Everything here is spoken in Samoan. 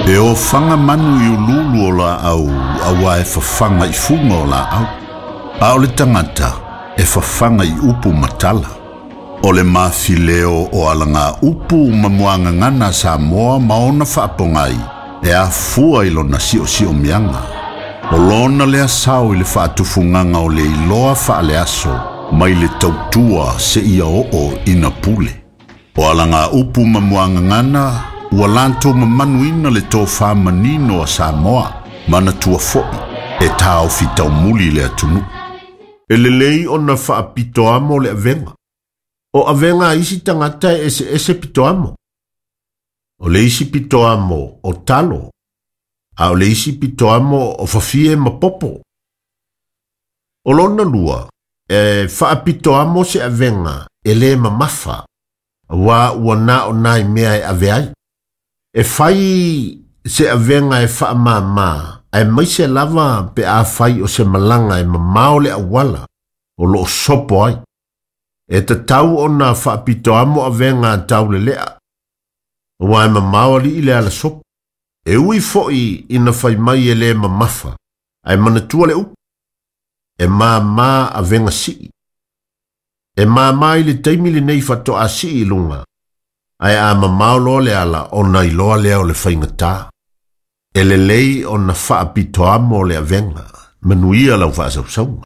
E ofaga manu i uluulu o laau auā e fafaga i fuga o laau, a o le tagata e fafaga i upu ma tala. O le mafileo o alagaupu ma muagagana a Samoa ma ona faapogai e afua i lona siosiomiaga. O lona lea sao i le faatufugaga o le iloa faaleaso mai le tautua seia oo ina pule. O alagaupu ma muagagana ua latou mamanuina le tofa manino a Samoa, manatua foi e taofi taumuli le atunuu. E lelei ona faapitoamo le avega. O avega a isi tagata e eseese pitoamo. O le isi pitoamo o talo, a o le isi pitoamo o fafie ma popo. O lona lua, e faapitoamo se avega e lē mamafa, auā ua na o nai mea e ave ai. E fai se avega e faamāmā, aemaise lava pe afai o se malaga e mamao le auala o loo sopo ai. E tatau ona faapitoamo avega a taulelea, auā e mamao alii le ala sopo. E ui foi ina fai mai e lē mamafa, ae manatua le upu, e māmā avega sii. E māmā i le taimi lenei faatoa sii i luga, ae a mamao loa le ala ona iloa lea o le faigatā. E lelei ona faapitoamo le avega, manuia lau faasausauga.